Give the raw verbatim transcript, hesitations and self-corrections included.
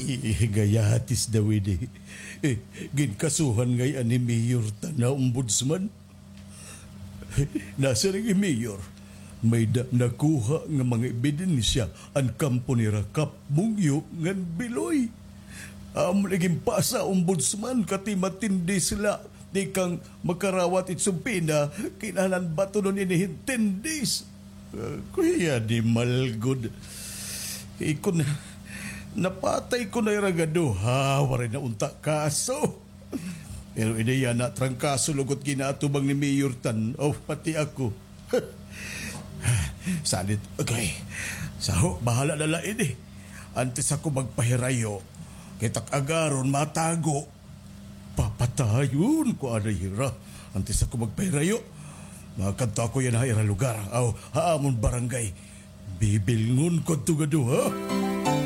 Ihigayatis daw ini. Eh, ginkasuhan ngay-an ni Mayor Tan nga ombudsman. Nasiring hi Mayor, may-ada nakuha nga mga ebidensya an kampo nira Kap Mungyo ngan Biloy. Amo lagi ginpasa, Ombudsman, kay matin days la tikang makarawat it subpoena, kinahanglan batunon ini hin ten days. Ah, kuya, di malgod. Ikon, napatay ko na ira nga duha, waray na unta kaso. Pero ini yana trangkaso lugod ginaatubang ni Mayor Tan. Oh, pati ako. Salit, okay. Saho, bahala na la ini. Antes ako magpahirayo, kita ak agaron, matago. Papatayon ko anay hira. Antes ako magpahirayo, makadto ako yana ha ira lugar. Aw, ha amon barangay. Bibilngon ko adto nga duha.